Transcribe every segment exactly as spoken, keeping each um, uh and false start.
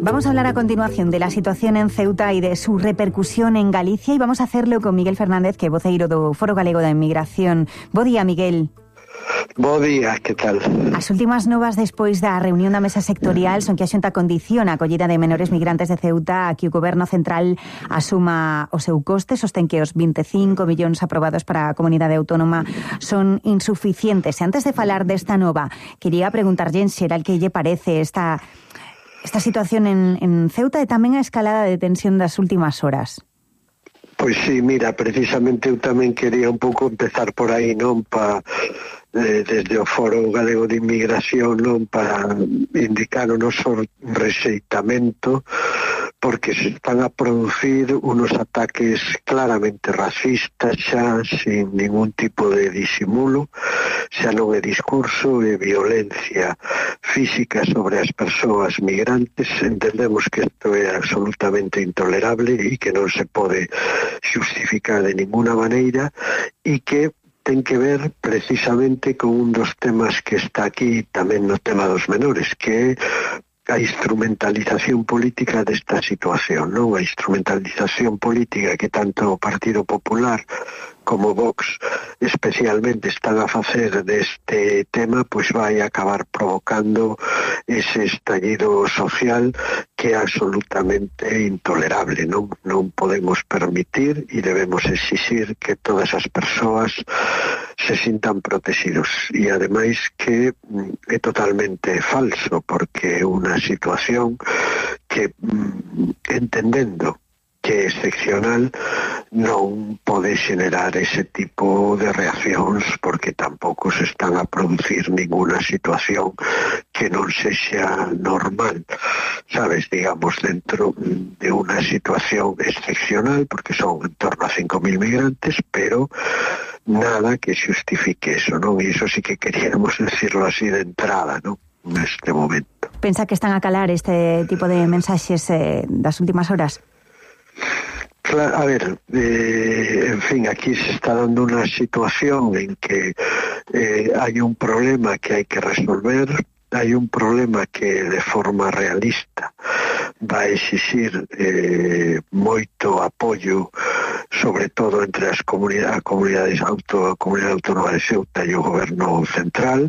Vamos a hablar a continuación de la situación en Ceuta y de su repercusión en Galicia e vamos a hacerlo con Miguel Fernández, que é voceiro do Foro Galego da Inmigración. Bo día, Miguel. Bo día, que tal? As últimas novas despois da reunión da mesa sectorial son que a Xunta condiciona a acollida de menores migrantes de Ceuta a que o Goberno Central asuma o seu coste. Sostén que os vinte e cinco millóns aprobados para a comunidade autónoma son insuficientes. E antes de falar desta nova, quería preguntarlle en xeral que lle parece esta... esta situación en, en Ceuta e tamén a escalada de tensión das últimas horas. Pois sí, mira, precisamente eu tamén quería un pouco empezar por aí, non? Pa, eh, desde o Foro Galego de Inmigración, non? Para indicar o noso rexeitamento, porque se están a producir unos ataques claramente racistas xa, sin ningún tipo de disimulo, xa non é discurso, é violencia física sobre as persoas migrantes. Entendemos que isto é absolutamente intolerable e que non se pode xustificar de ninguna maneira e que ten que ver precisamente con un dos temas que está aquí tamén no tema dos menores, que é a instrumentalización política desta situación, non? A instrumentalización política que tanto o Partido Popular como Vox especialmente están a facer deste tema, pois vai acabar provocando ese estallido social que é absolutamente intolerable, non? Non podemos permitir e debemos exixir que todas as persoas se sintan protegidos e ademais que é totalmente falso, porque é unha situación que, entendendo que é excepcional, non pode xenerar ese tipo de reaccións, porque tampouco se están a producir ninguna situación que non sexa normal, sabes, digamos, dentro de unha situación excepcional, porque son en torno a cinco mil migrantes, pero nada que xustifique eso, non? E iso sí que queríamos decirlo así de entrada, non? Neste momento. Pensa que están a calar este tipo de mensaxes eh, das últimas horas? Claro, a ver, eh, en fin, aquí se está dando una situación en que eh, hay un problema que hay que resolver, hay un problema que de forma realista va a exixir eh, moito apoio, sobre todo entre as comunidades, comunidades auto, a comunidade autónoma de Ceuta e o goberno central.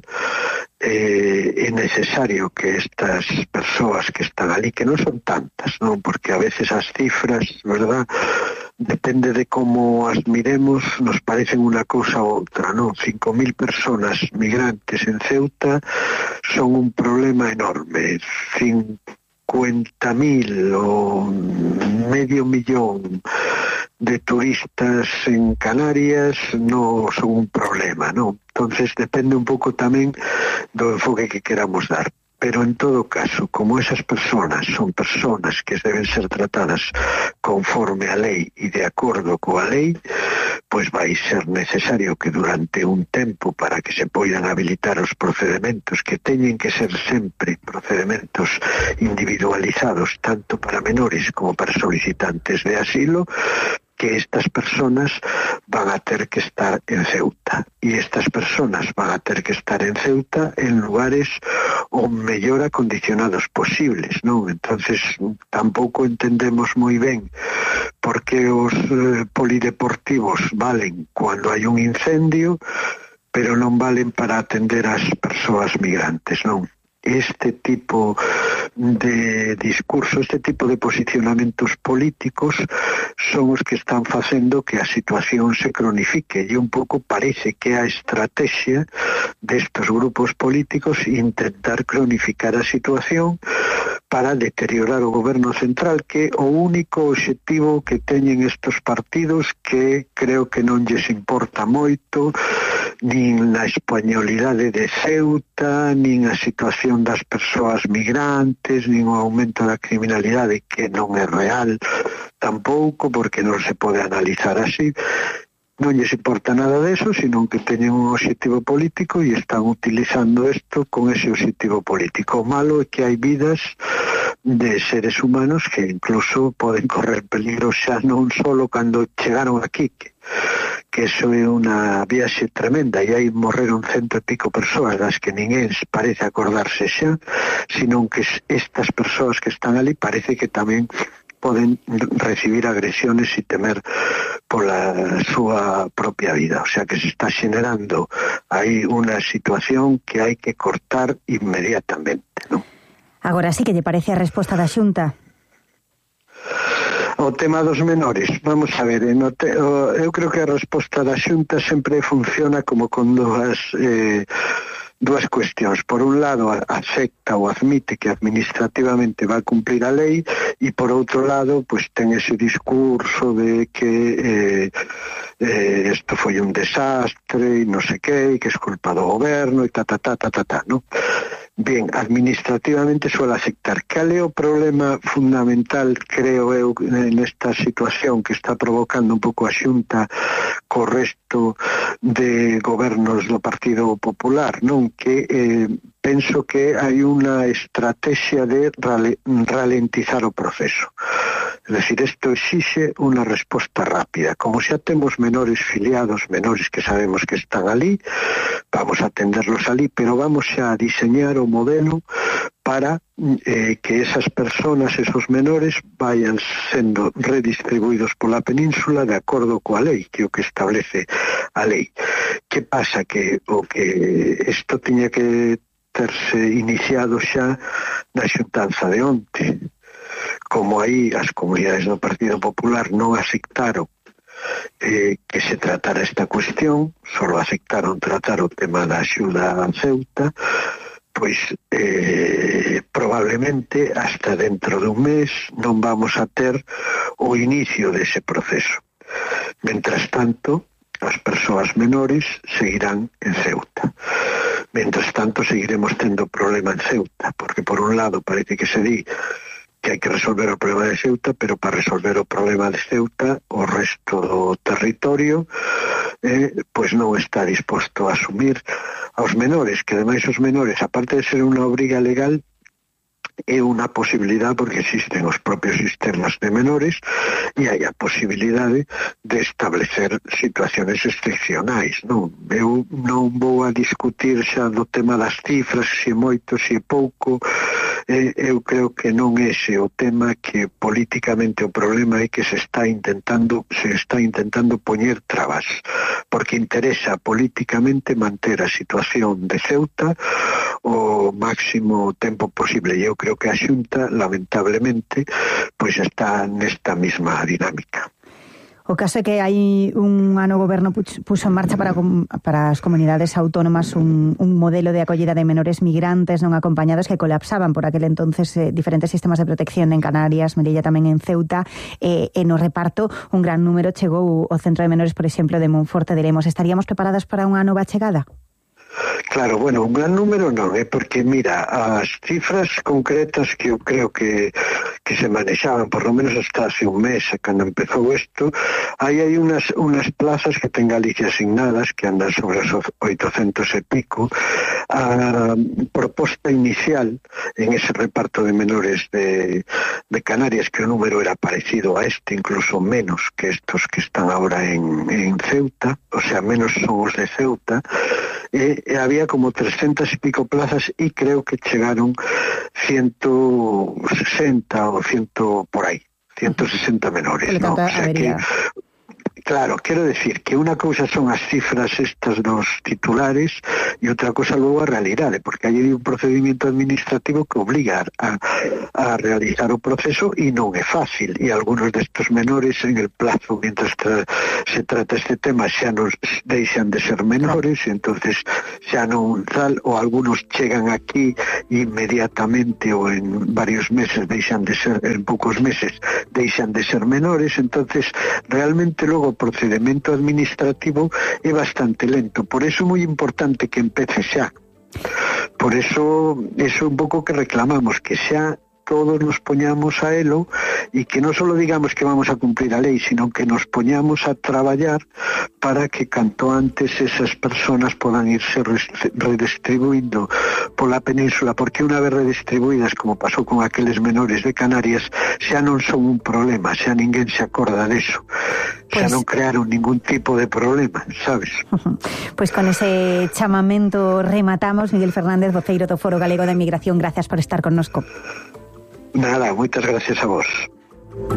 Eh, é necesario que estas persoas que están ali, que non son tantas, non? Porque a veces as cifras, verdad, depende de como as miremos, nos parecen unha cousa ou outra, non? cinco mil personas migrantes en Ceuta son un problema enorme. cincuenta mil ou medio millón de turistas en Canarias non son un problema, non? Entonces depende un pouco tamén do enfoque que queramos dar. Pero en todo caso, como esas personas son personas que deben ser tratadas conforme a lei e de acordo coa lei, pois vai ser necesario que durante un tempo, para que se poidan habilitar os procedementos, que teñen que ser sempre procedementos individualizados tanto para menores como para solicitantes de asilo, que estas personas van a ter que estar en Ceuta. E estas personas van a ter que estar en Ceuta en lugares o mellor acondicionados posibles, non? Entonces tampouco entendemos moi ben por que os eh, polideportivos valen cando hai un incendio, pero non valen para atender as persoas migrantes, non? Este tipo de discurso, este tipo de posicionamentos políticos son os que están facendo que a situación se cronifique, e un pouco parece que a estrategia destos grupos políticos intentar cronificar a situación para deteriorar o goberno central, que é o único obxectivo que teñen estos partidos, que creo que non lles importa moito nin a españolidade de Ceuta, nin a situación das persoas migrantes, nin o aumento da criminalidade, que non é real tampouco, porque non se pode analizar así. Non lles importa nada deso, sino que teñen un obxectivo político e están utilizando isto con ese obxectivo político. O malo é que hai vidas de seres humanos que incluso poden correr peligro xa non solo cando chegaron aquí, que, que eso é unha viaxe tremenda e aí morreron cento e pico persoas das que ninguén parece acordarse xa, senón que estas persoas que están ali parece que tamén poden recibir agresiones e temer pola súa propia vida. O sea que se está xenerando aí unha situación que hai que cortar inmediatamente, non? Agora sí que lle parece a resposta da Xunta. O tema dos menores, vamos a ver, no te, o, eu creo que a resposta da Xunta sempre funciona como con dúas eh, dúas cuestións. Por un lado, acepta ou admite que administrativamente va a cumplir a lei e por outro lado, pues ten ese discurso de que eh, eh, esto foi un desastre e non sei que, que es culpa do goberno e ta ta ta ta ta ta, ¿no? Bien, administrativamente suele aceptar. Cal é o problema fundamental, creo eu, nesta situación que está provocando un pouco a Xunta co resto de gobernos do Partido Popular, non? Que eh, penso que hai unha estrategia de rale, ralentizar o proceso. É dicir, isto exixe unha resposta rápida. Como xa temos menores filiados, menores que sabemos que están ali, vamos a atenderlos ali, pero vamos xa a diseñar o modelo para eh, que esas personas, esos menores, vayan sendo redistribuídos pola península de acordo coa lei, que é o que establece a lei. Que pasa? Que o que isto tiña que terse iniciado xa na xuntanza de onte. Como aí as comunidades do Partido Popular non aceptaron eh, que se tratara esta cuestión, solo aceptaron tratar o tema da axuda a Ceuta, pois eh, probablemente hasta dentro dun mes non vamos a ter o inicio dese proceso. Mentras tanto, as persoas menores seguirán en Ceuta. Mentras tanto, seguiremos tendo problema en Ceuta, porque por un lado parece que se di que hai que resolver o problema de Ceuta, pero para resolver o problema de Ceuta o resto do territorio eh, pois non está disposto a asumir aos menores, que ademais os menores, aparte de ser unha obriga legal, é unha posibilidade porque existen os propios sistemas de menores e hai a posibilidade de establecer situaciones excepcionais, non? Eu non vou a discutir xa do tema das cifras, se é moito, se é pouco. Eh, eu creo que non é ese o tema, que políticamente o problema é que se está intentando se está intentando poñer trabas, porque interesa políticamente manter a situación de Ceuta o máximo tempo posible, e eu creo que a Xunta, lamentablemente, pois está nesta mesma dinámica. O caso é que hai un ano o goberno puxo en marcha para, para as comunidades autónomas un, un modelo de acollida de menores migrantes non acompañados que colapsaban por aquel entonces eh, diferentes sistemas de protección en Canarias, Melilla tamén en Ceuta, eh, e no reparto un gran número chegou ao centro de menores, por exemplo, de Monforte de Lemos. Estaríamos preparadas para unha nova chegada? Claro, bueno, un gran número non, é eh, porque, mira, as cifras concretas que eu creo que, que se manexaban, por lo menos hasta hace un mes, cando empezou isto, hai aí unas, unas plazas que ten Galicia asignadas, que andan sobre os oitocentos e pico. A proposta inicial en ese reparto de menores de, de Canarias, que o número era parecido a este, incluso menos que estos que están ahora en, en Ceuta, o sea, menos son os de Ceuta, e, e había como trescentas e pico plazas e creo que chegaron ciento sesenta ou cien por aí, ciento sesenta menores, ¿no? O sea que, claro, quero decir que unha cousa son as cifras estas dos titulares e outra cousa logo a realidade, porque hai un procedimento administrativo que obliga a, a realizar o proceso e non é fácil, e algunos destes menores en el plazo, mientras tra se trata este tema, xa non deixan de ser menores, e entonces xa non tal, ou algunos chegan aquí inmediatamente ou en varios meses deixan de ser, en poucos meses deixan de ser menores, entonces realmente logo o procedimento administrativo é bastante lento. Por eso é moi importante que empece xa. Por eso, eso é un pouco que reclamamos, que xa todos nos poñamos a elo e que non só digamos que vamos a cumplir a lei, sino que nos poñamos a traballar para que canto antes esas personas podan irse redistribuindo pola península, porque unha vez redistribuídas, como pasou con aqueles menores de Canarias, xa non son un problema, xa ninguén se acorda deso, xa pues... non crearon ningún tipo de problema, sabes? Pois pues con ese chamamento rematamos. Miguel Fernández, voceiro do Foro Galego da Inmigración, gracias por estar connosco. Nada, moitas gracias a vos.